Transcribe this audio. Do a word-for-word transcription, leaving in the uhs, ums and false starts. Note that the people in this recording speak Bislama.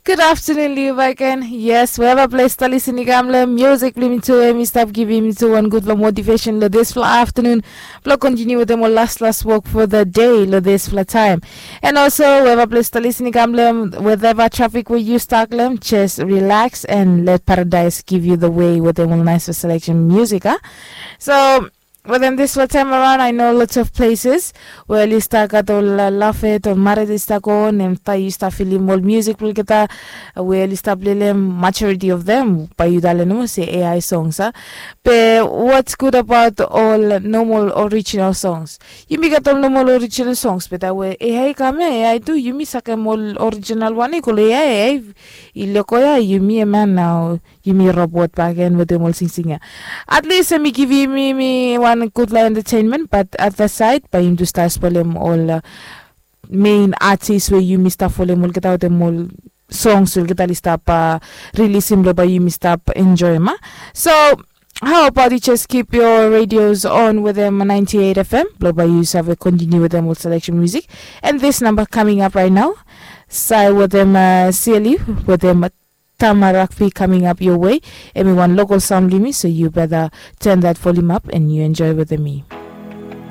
Good afternoon, Liu Baken. Yes, wherever place ta listening kam long music, blim to him, stop giving me to one good for motivation lo this for afternoon. Blo continue with them all last last walk for the day lo this for time. And also, wherever place ta listening kam long, whatever traffic where you stuck long, just relax and let paradise give you the way with them all nice selection music, huh? So, But then this time around, I know lots of places where oli start gat ol lafet ol mared i start go on, and ta yu start feeling ol music olgeta where oli start play them, majority of them by yu dale no se A I songs, huh? But what's good about all normal original songs? Yumi gat ol normal original songs, but that way A I come, A I do yumi sakem ol original one i kol A I, A I i loko ya yumi man now. Yumi robot back and wetem ol singsing ya. At least em i givim yumi wan gudfala entertainment, but at the side bae yumi tu stap spolem ol uh, main artist we yumi stap folem olgeta wetem ol songs we olgeta oli stap uh, rilisim blo bae yumi stap enjoem a. So how about you just keep your radios on with them ninety-eight F M blo bae yu save continue with them ol selection music. And this number coming up right now, sai with them uh, Sili with them Tama Rugby coming up your way. Em i wan local sound blimi, so you better turn that volume up and you enjoy with me.